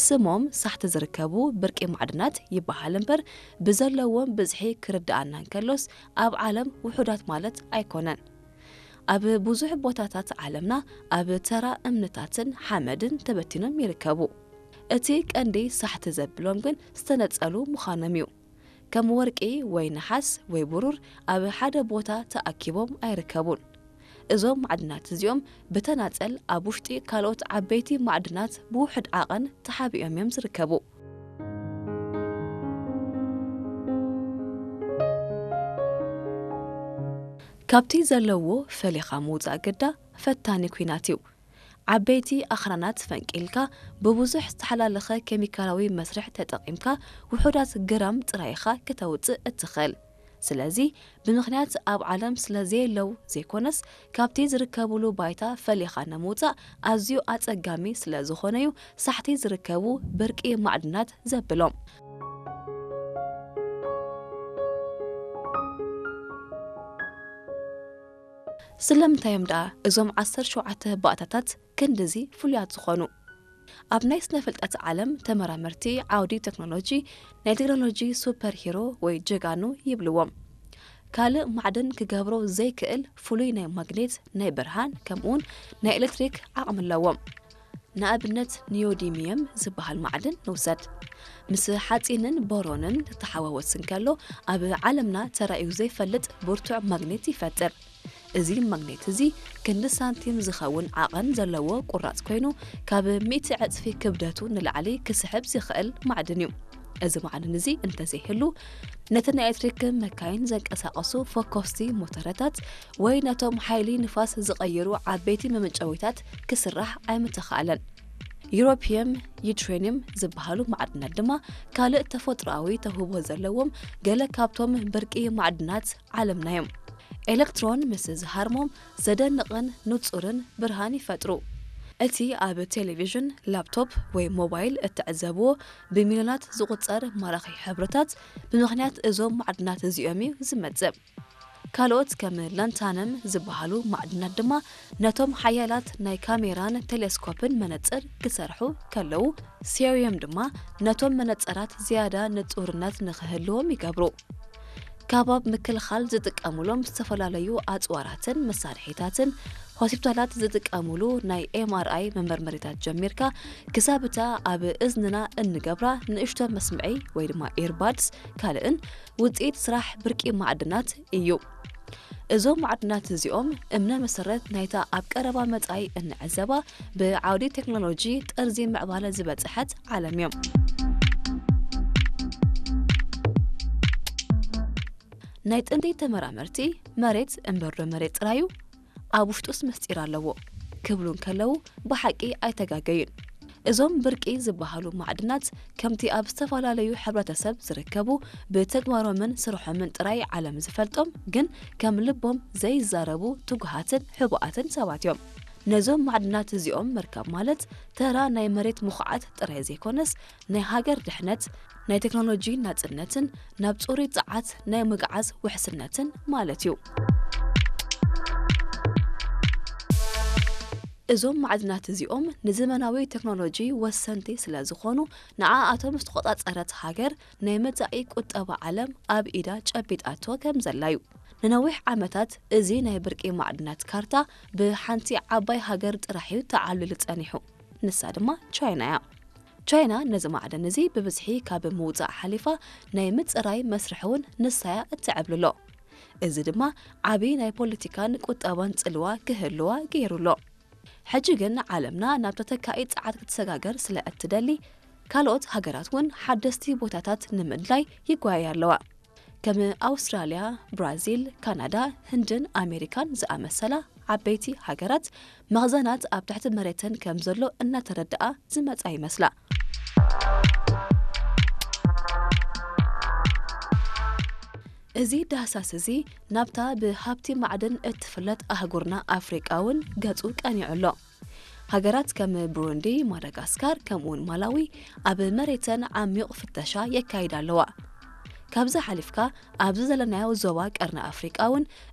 ስሞም ሳሕቲ ዝርከቡ ብርቂ ማዕድናት ይበሃል እምበር፣ ብዘለዎም ብዝሒ ክርድኣና እንከሎስ፣ ኣብ ዓለም ውሑዳት ማለት ኣይኮነን። ኣብ ብዙሕ ቦታታት ዓለምና ኣብ ተራ እምንታትን ሓመድን ተበቲኖም ይርከቡ። እቲ ቀንዲ ሳሕቲ ዘብሎም ግን ዝተነጸሉ ምዃኖም እዩ። ከም ወርቂ ወይ ነሓስ ወይ ብሩር ኣብ ሓደ ቦታ ተኣኪቦም ኣይርከቡን። እዞም ማዕድናት እዚኦም ብተናጸል ኣብ ውሽጢ ካልኦት ዓበይቲ ማዕድናት ብውሑድ ዓቐን ተሓቢኦም እዮም ዝርከቡ። ካብቲ ዘለዎ ፈሊኻ ምውጻእ ግዳ ፈታኒ ኲናት እዩ። ዓበይቲ ኣኽራናት ፈንቂልካ፣ ብብዙሕ ዝተሓላለኸ ኬሚካላዊ መስርሕ ተጠቒምካ፣ ውሑዳት ግራም ጥራይ ኢኻ ከተውጽእ እትኽእል። ስለዚ፣ ብምኽንያት ኣብ ዓለም ስለ ዘየለው ዘይኮነስ፣ ካብቲ ዝርከቡሉ ባይታ ፈሊኻ ንምውጻእ ኣዝዩ ኣጸጋሚ ስለ ዝኾነ'ዩ ሳሕቲ ዝርከቡ ብርቂ ማዕድናት ዘብሎም። ስለምንታይ እዮም ደኣ እዞም ዓሰርተ ሸውዓተ ባእታታት ክንድዚ ፍሉያት ዝኾኑ? ኣብ ናይ ስነ ፍልጠት ዓለም ተመራመርቲ ዓውዲ ቴክኖሎጂ ናይ ቴክኖሎጂ ሱፐር ሂሮ ወይ ጀጋኑ ይብልዎም። ካልእ ማዕድን ክገብሮ ዘይክእል ፍሉይ ናይ ማግኔት፣ ናይ ብርሃን፣ ከምኡውን ናይ ኤሌክትሪክ ዓቕሚ ኣለዎም። ንኣብነት ኒዮዲሚየም ዝበሃል ማዕድን ንውሰድ። ምስ ሓጺንን ቦሮንን ተተሓዋወስ እንከሎ ኣብ ዓለምና ተራእዩ ዘይፈልጥ ብርቱዕ ማግኔት ይፈጥር። እዚ ማግኔት እዚ ክንዲ ሳንቲም ዝኸውን ዓቐን ዘለዎ ቁራጽ ኮይኑ፣ ካብ ሚእቲ ዕጽፊ ክብደቱ ንላዕሊ ክስሕብ ዝኽእል ማዕድን እዩ። እዚ ማዕድን እዚ እንተዘይህሉ፣ ነቲ ናይ ኤሌክትሪክ መካይን ዘንቀሳቐሱ ፈኮስቲ ሞተረታት ወይ ነቶም ሓይሊ ንፋስ ዝቐይሩ ዓበይቲ መመንጨዊታት ክስራሕ ኣይምተኻእለን። ዩሮፒየም፣ ዩትሬኒየም ዝበሃሉ ማዕድናት ድማ ካልእ ተፈጥሮኣዊ ተውህቦ ዘለዎም ገለ ካብቶም ብርቂ ማዕድናት ዓለምና እዮም። ኤሌክትሮን ምስ ዝሃርሞም ዘደንቕን ንጹርን ብርሃን ይፈጥሩ። እቲ ኣብ ቴሌቪዥን፣ ላፕቶፕ ወይ ሞባይል እትዕዘብዎ ብሚልዮናት ዝቑጸር ማራኺ ሕብርታት ብምኽንያት እዞም ማዕድናት እዚኦም እዩ ዝመጽእ። ካልኦት ከም ላንታነም ዝበሃሉ ማዕድናት ድማ ነቶም ሓያላት ናይ ካሜራን ቴሌስኮፕን መነጽር ክሰርሑ ከለዉ፣ ሴሪየም ድማ ነቶም መነጽራት ዝያዳ ንጹርነት ንኽህልዎም ይገብሩ። ከባብ ምክልኻል ዝጥቀሙሎም ዝተፈላለዩ ኣጽዋራትን መሳርሒታትን፣ ሆስፒታላት ዝጥቀሙሉ ናይ ኤምኣርኣይ መመርመሪታት ጀሚርካ ክሳብ እታ ኣብ እዝንና እንገብራ ንእሽቶ መስምዒ ወይ ድማ ኢርባድስ ካልእን ውጽኢት ስራሕ ብርቂ ማዕድናት እዩ። እዞም ማዕድናት እዚኦም እምነ መሰረት ናይታ ኣብ ቀረባ መጻኢ እንዕዘባ ብዓውዲ ቴክኖሎጂ ጥርዚ ምዕባለ ዝበጽሐት ዓለም እዮም። ናይ ጥንቲ ተመራመርቲ መሬት እምበርዶ መሬት ጥራዩ ኣብ ውሽጡስ ምስጢር ኣለዎ ክብሉ እንከለዉ ብሓቂ ኣይተጋገዩን። እዞም ብርቂ ዝበሃሉ ማዕድናት ከምቲ ኣብ ዝተፈላለዩ ሕብረተሰብ ዝርከቡ ብተግባሮምን ስርሖምን ጥራይ ዓለም ዝፈልጦም ግን ከም ልቦም ዘይዛረቡ ትጉሃትን ሕቡኣትን ሰባት እዮም። ነዞም ማዕድናት እዚኦም ምርካብ ማለት ተራ ናይ መሬት ምኹዓት ጥራይ ዘይኮነስ ናይ ሃገር ድሕነት፣ ናይ ቴክኖሎጂ ናጽነትን ናብ ጽሩይ ጸዓት ናይ ምግዓዝ ውሕስነትን ማለት እዩ። እዞም ማዕድናት እዚኦም ንዘመናዊ ቴክኖሎጂ ወሰንቲ ስለ ዝኾኑ፣ ንዓኣቶም ዝተቖጻጸረት ሃገር ናይ መጻኢ ቁጠባ ዓለም ኣብ ኢዳ ጨቢጣቶ ከም ዘላ እዩ። ንነዊሕ ዓመታት እዚ ናይ ብርቂ ማዕድናት ካርታ ብሓንቲ ዓባይ ሃገር ጥራሕ እዩ ተዓብሊሉ ጸኒሑ። ንሳ ድማ ቻይና እያ። ቻይና ነዚ ማዕድን እዚ ብብዝሒ ካብ ምውጻእ ሓሊፋ ናይ ምጽራይ መስርሕ እውን ንሳ እያ እትዕብልሎ። እዚ ድማ ዓቢ ናይ ፖለቲካን ቁጠባን ጽልዋ ክህልዋ ገይሩ ኣሎ። ሕጂ ግን ዓለምና ናብ ተተካኢ ጸዓት ክትሰጋገር ስለ እትደሊ፣ ካልኦት ሃገራት እውን ሓደስቲ ቦታታት ንምድላይ ይጓየያ ኣለዋ። ከም ኣውስትራልያ፣ ብራዚል፣ ካናዳ፣ ህንድን ኣሜሪካን ዝኣመሰላ ዓበይቲ ሃገራት መኽዘናት ኣብ ትሕቲ መሬተን ከም ዘሎ እናተረድኣ ዝመጻ ይመስላ። እዚ ዳህሳስ እዚ ናብታ ብሃብቲ ማዕድን እትፍለጥ ኣህጉርና ኣፍሪቃ እውን ገጹ ቀኒዑ ኣሎ። ሃገራት ከም ብሩንዲ፣ ማዳጋስካር፣ ከምኡውን ማላዊ ኣብ መሬተን ዓሚቕ ፍተሻ የካይዳ ኣለዋ። ካብዚ ሓሊፍካ ኣብዚ ዘለናዮ ዞባ ቀርኒ ኣፍሪቃ እውን